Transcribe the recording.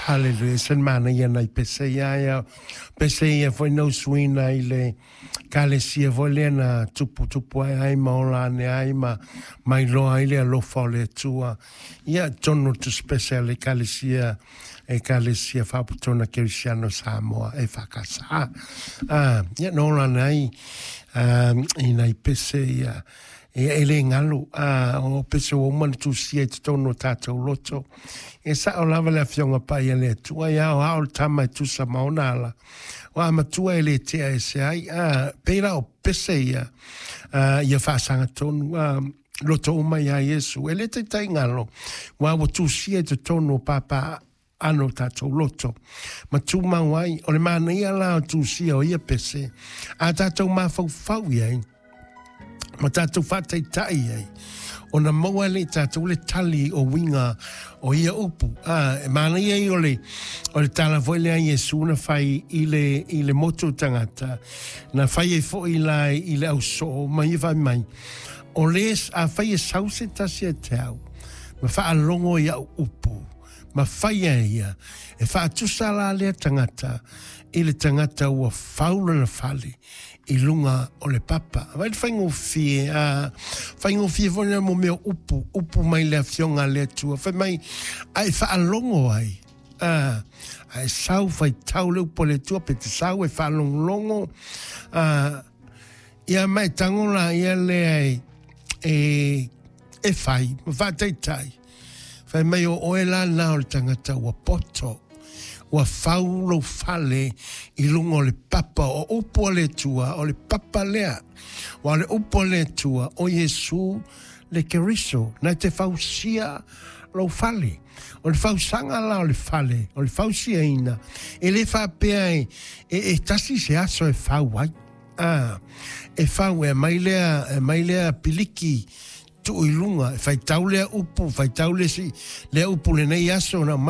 Haleluia, e ese le manaia nai pese ia, ia pese ia foi na usuina i le kalesia foi lea na tupu tupu ai ai ma ola ane ai ma mailoa ai le alofa o le Atua. Ia tonu tusi pese a le kalesia, Ekalesia Faaputona Kerisiano Samoa e whakasa. Ia no ola ane ai i nai pese ia, ia e le galo, o pese ua uma ona tusia i totonu o tātou loto. E sao lava le Afioga Paia a le Atua, e ao ao le tama e tusa ma ona ala. O a matua e le tea ese ai, pei la o pese ia, ia faasaga tonu, loto uma iā Iesu. E le taitai galo, ua ua tusia i totonu o pāpā ano tātou loto. Ma tumau ai, o le manaia la o tusia o ia pese, a tātou mafaufau i ai, ma tātou faataitai i ai, ona maua ai lea i tātou le tali o uiga o ia upu. E manaia ia o le, o le tala foi lea a Iesu na fai i le, i le motu o tagata, na fai ai foi la i le ausoo, ma ia fai mai, o le, afai e sau se tasi ia te au, ma faalogo i au upu, ma fai e ia, e faatusa la lea tagata i le tagata ua fau lona fale i luga o le papa. Vaai le faigofie, a faigofie foi lea mo mea o upu, upu mai le Afioga a le Atua. Fai mai, a e faalogo ai, a, a e sau faitau le upu a le Atua, pe te sau e faalogologo, a, ia ma e tago laia lea e, e, e fai ma faataitai. Fai mai o oe la na o le tagata ua poto, ua fau lou fale i luga o le papa o upu a le Atua, o le papa lea. Ua o le upu a le Atua, o Iesu le Keriso, na te fausia lou fale. O le fausaga la o le fale, o le fausiaina, e le faapea e, e, e tasi se aso e fau ai. A, e fau e aumai lea, e aumai lea piliki tuu i luga, e faitau lea upu, faitau le isi, lea upu lenei aso, ona aumai